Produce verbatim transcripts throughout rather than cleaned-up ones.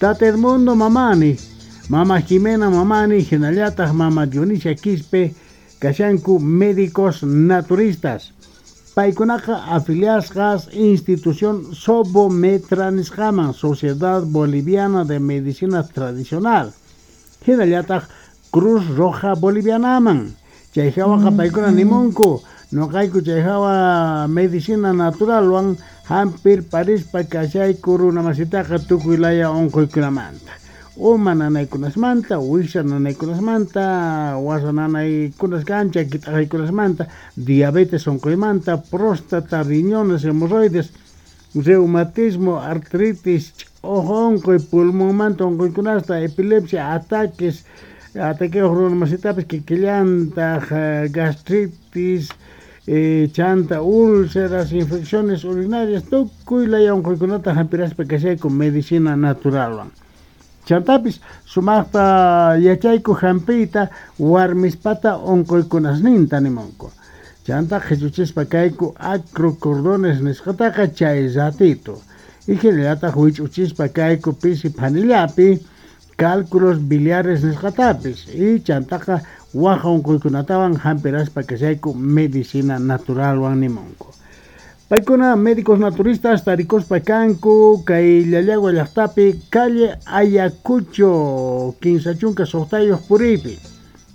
Tata Edmundo Mamani, Mama Jimena Mamani, hinallataq Mama Dionisia Quispe, kashanku médicos naturistas. Paykunaqa afiliasqas institución Sobometra nisqaman, Sociedad Boliviana de Medicina Tradicional. Hinallataq Cruz Roja Bolivianaman. Chay hawaqa paykuna nimunku, noqayku chay hawa medicina naturalwan hampir parispa kashayku runamasitaqa tukuy laya unquykunamanta. Uma nanaykunasmanta, wiksa nanaykunasmanta, wasa nanaykunas kan, chaki t'aqaykunasmanta, diabetes unquymanta, próstata, riñones, hemorroides, reumatismo, artritis, ch'uju unquy, pulmonmanta unquykunasta, epilepsia, ataques, ataqueos runamasitapis kikillantaq, gastritis, eh, chanta, úlceras, infecciones urinarias, tukuy laya unquykunata hampiraspa kashayku medicina naturalwan. Chantapis sumaqta yachayku hampiyta warmispata unquykunasninta nimunku. Chanta qhichuchispa kayku acrocordones nisqataqa chay ratito. Y hinallataq wich'uchispa kayku pisi phanillapi cálculos biliares nisqatapis. Y chantaqa waj unquykunatawan hampiraspa kashayku medicina naturalwan nimunku. Paykuna médicos naturistas tarikuspa kanku kay Llallagua llaqtapi calle Ayacucho kinsa chunka suqtayuq puriypi.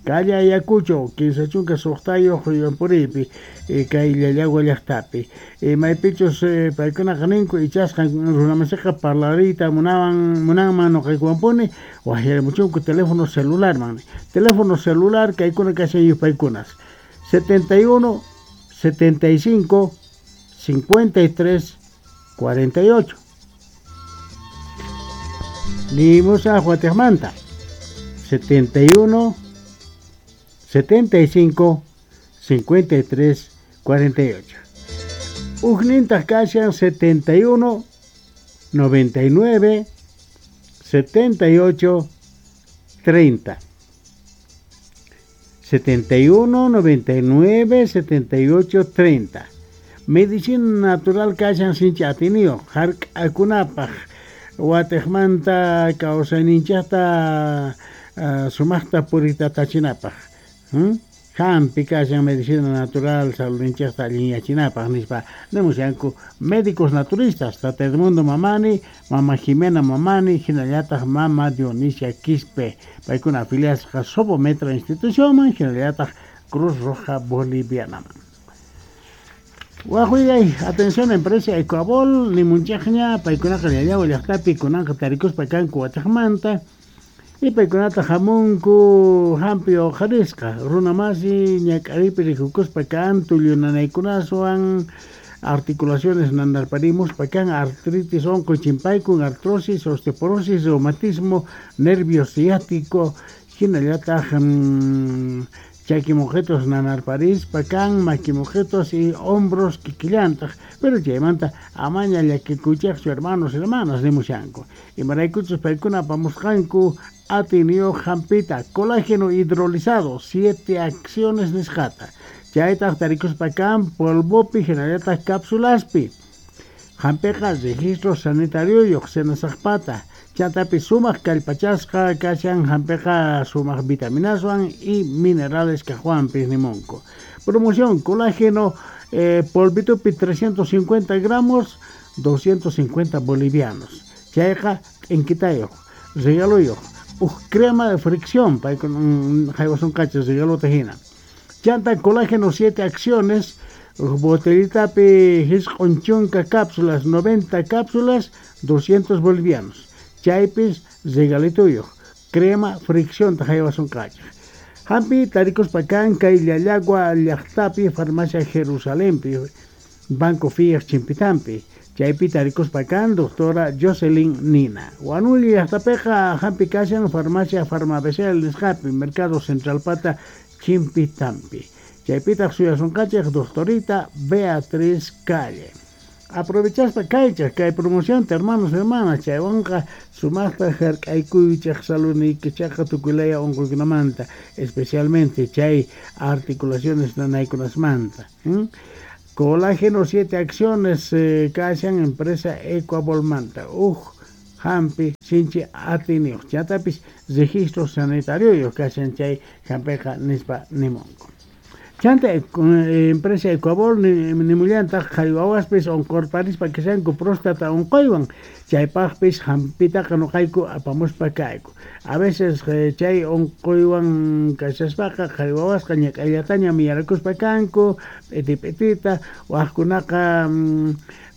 Calle Ayacucho kinsa chunka suqtayuq puriypi kay Llallagua llaqtapi. Maypichus paykunaqa ninku ichasqan runamasiqa parlariyta munawan munanman nuqaykuwanpuni waqyarimuchunku teléfono celularman. Teléfono celular kaykuna kashan yupaykunas setenta y uno setenta y cinco cincuenta y tres cuarenta y ocho. Nimusa Guatemala setenta y uno setenta y cinco cincuenta y tres cuarenta y ocho. Ujnintaj kashan setenta y uno noventa y nueve setenta y ocho treinta. setenta y uno noventa y nueve setenta y ocho treinta. Medicina natural kashan sinchi atiniyuq hark'akunapaq watejmanta kawsayninchaqta uh, sumaqta puritatachinapaq. Hmm? Hampi kashan medicina natural saludninchaqta allinyachinapaq nispa nimushanku médicos naturistas Tata Edmundo Mamani, Mama Jimena Mamani, hinallataq Mama Dionisia Quispe, paykuna afiliasqa Sobometra institucionman, hinallataq Cruz Roja Bolivianaman. Wajuyay, atención empresa Ecuabol, nimunchaqña, paykunaqa Llallagua llaqtapi kunanqa tarikuspa kanku wataqmanta, y paykunata hamunku hampi uqharisqa, runamasi ñak'aripi rikukuspa kan tullu nanaykunaswan, articulaciones nanarparimuspa kan, artritis unquy chimpaykun, artrosis, osteoporosis, reumatismo, nervio ciático, hinallataq mmm, chakimojetos nanarparispa kan, maquimojetos y hombros kikillantaq, pero chaymanta amaña llakikuychaqchu hermanos hermanas nimushanku. Imaraykuchus paykuna apamusqanku atiniyuq hampita, colágeno hidrolizado, siete acciones nisqata. Chaytaq tarikuspa kan polvopi hinallataq cápsulaspi. Hampiqa registro sanitarioyuq senasaqpata. Chantapi sumaq kallpachasqa kashan hampiqa sumaq vitaminaswan y minerales kaqwanpis nimunku. Promoción colágeno eh, polvitupi trescientos cincuenta gramos, doscientos cincuenta bolivianos. Chayqa t'inquitayuq, regaluyuq, uj crema de fricción, paykuna haywasun kachas regalota hina. Chanta colágeno siete acciones, botellitapi hisq'un chunka cápsulas, noventa cápsulas, doscientos bolivianos. Chaypis regalituyuq, crema fricción haywasun kachas. Hampi tarikuspa kan kay Llallagua llaqtapi farmacia Jerusalempi, Banco Fias Chimpitampi. Chaypi tarikuspa kan doctora Jocelyn Nina. Huanuli llaqtapiqa hampi kashan farmacia Farmabecel nisqapi, Mercado Central Pata Chimpitampi. Chaypitaq suyasunqachik doctorita Beatriz Calle. Aprovechaspa kaychaq kay promoción hermanos hermanas chaywanqa sumaqta hark'aykuychaq saludniykichaqqa tukuylaya unquykunamanta, especialmente chay articulaciones nanaykunasmanta. ¿Mm? Colágeno siete acciones eh, kashan empresa Ecuabolmanta. Uj Hampi sinchi atiyniyuq chantapis registro sanitario kashan chay hampiqa nispa nimunku. Chanta empresa Ecuabol nimullantaq qhari wawaspis unqurparispa kashanku próstata unquywan chaypaqpis hampitaqa nuqayku apamuspa kayku. A veces chay unquywan kashaspaqa qhari wawasqa ñak'ayllataña miyarakuspa kanku p'iti p'itita waqkunaqa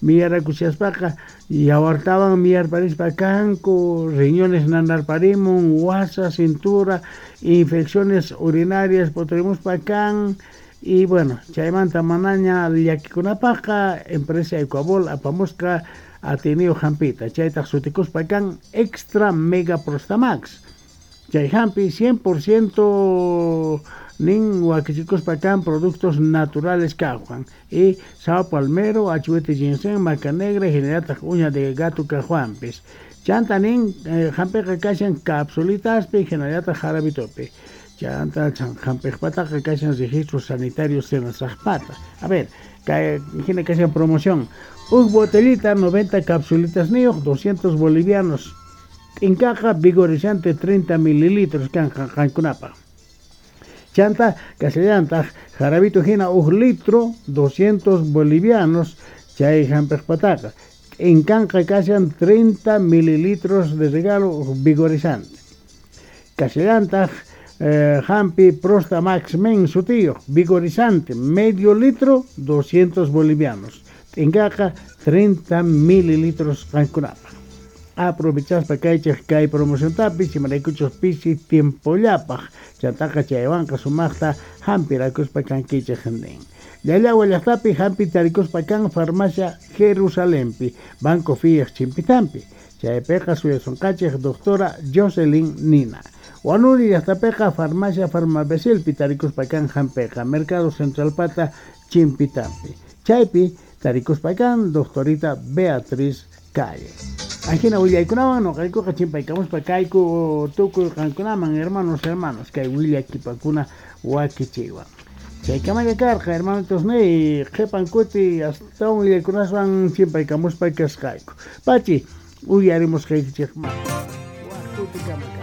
miyarakushaspaqa yawartawan miyarparispa kanku riñones nanarparimun wasa cintura infecciones urinarias puturimuspa kan y bueno chaymanta manaña llakikunapaqqa empresa Ecuabol apamusqa atiyniyuq hampita chaytaq sutikuspa kan Extra Mega Prostamax chay hampi cien por ciento nin wakichikuspa kan productos naturales kajwan y sao palmero, achuete ginseng, maca negra hinallataq uña de gato kajwanpis chanta nin eh, hampiqa kashan capsulitaspi hinallataq jarabitopi chanta hampiqpataqa kashan registro sanitario senasaqpata. A ver, kay hina kashan promoción uj botellita noventa capsulitas niyuq doscientos bolivianos t'inkaqa vigorizante treinta mililitros kan qankunapaq. Chanta kasallantaq jarabito hina uj litro doscientos bolivianos chay hampiqpataqa t'inkanqa kashan treinta mililitros de regalo vigorizante. Kasallantaq eh, hampi Prostamax Men sutiyuq vigorizante medio litro doscientos bolivianos t'inkaqa treinta mililitros qankunapaq. Aprovechaspa kaychej kay promociontapis imaraykuchus pisi tiempollapaq chantaqa chaywanqa sumaqta hampirakuspa kankichej nin. Llallawa llaqtapi hampi tarikuspa kan farmacia Jerusalempi Banco Fiej chimpitampi chaypiqa suyasunqachej doctora Jocelyn Nina. Wanuri llaqtapiqa farmacia Farmabesilpi tarikuspa kan hampiqa Mercado Centralpata chimpitampi chaypi tarikuspa kan doctorita Beatriz Calle. Ajina willaykunawan nuqaykuqa chimpaykamuspa kayku tukuy qankunaman hermanos hermanos kay willakipakuna wakichiwan. Chaykamalla karqa hermanitos niy qhipan kuti astawan willaykunaswan chimpaykamuspa kasqayku. Pachi uyarimusqaykichikman. Waq kutikama.